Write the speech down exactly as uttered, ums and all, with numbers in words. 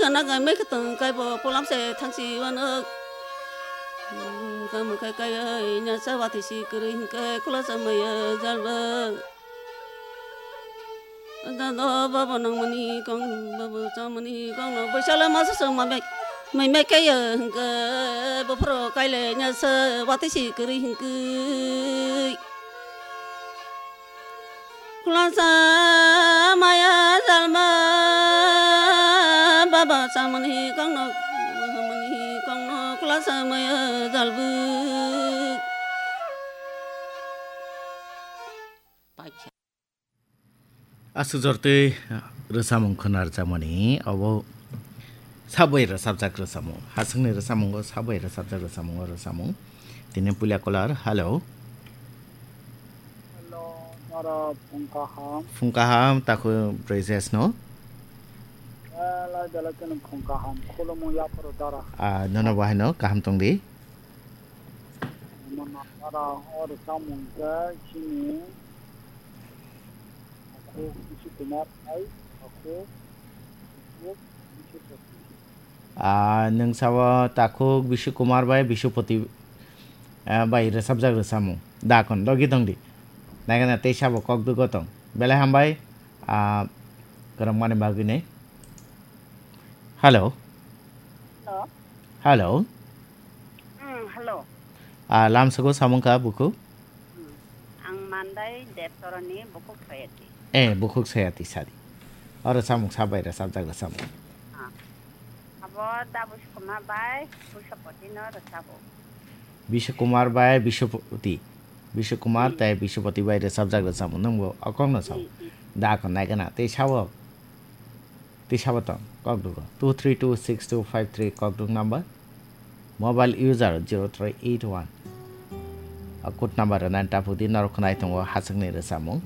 Ana gai mai khe tong kai bo polam se thang si wano. Kam kai kai ai nya sa wati si kri hing kai khula sa mai ya jal ba. Dado babo nangmani kong babo chamani kong no boisala masa song mamai mai mai kaya hingke bofro kaile nyasa wati si kiri hingke. Kulasa maya jalma baba chamani kong no hamani kong no kulasa maya jalbu. Aswk jortwi rwchapmung khwna rwchapmani, obo sabai rwchapjak rwchapmung. Hasingni rwchapmungo sabai rwchapjak rwchapmungo rwchapmung. Tini puila caller, hello. Hello, nara phung kaham. Phung kaham, takhuk Brajesno. Eh, lai belai kheno phung kaham. Khulumung yapharo dara. Ah, nono bo haino kaham tongdi. Mano dara o rwchapmung khe chini Takhuk Bishi Kumar bai takhuk Bishi Poti. Ah, nwng sao takhuk Bishi Kumar bai Bishi Poti, ah, bai rwchapjak rwchapmung. Da kon logi tongdi. Naikhe na tei sabo kok dugo tong. Belai hambai, ah, kwrwngmani bagwi nei. Hello. Hello. Hello. Hmm, hello. Ah, lamsoko samung ka buku? Hmm. Ang Mandai Debtorani bukhuk Sayati. Eh, bukhuk Sayati sadi. Oro samung sabai ra sabjak ra samung. Ah. Abo da Buskuma bai Busapoti no rwchabo. Bishu Kumar bai Bishupati. Bishu Kumar Hmm. tei Bishupati bai rwchapjak rwchapmung. Nwng bo okong no sao. Hmm, hmm. Da kon nai gana. Tei sao. Tei sabo tong, kok dugo, two three two six two five three kok duk number, mobile user zero three eight one. A code number rwna tapuk di, norok khwnai tongo haswkni rwchapmung.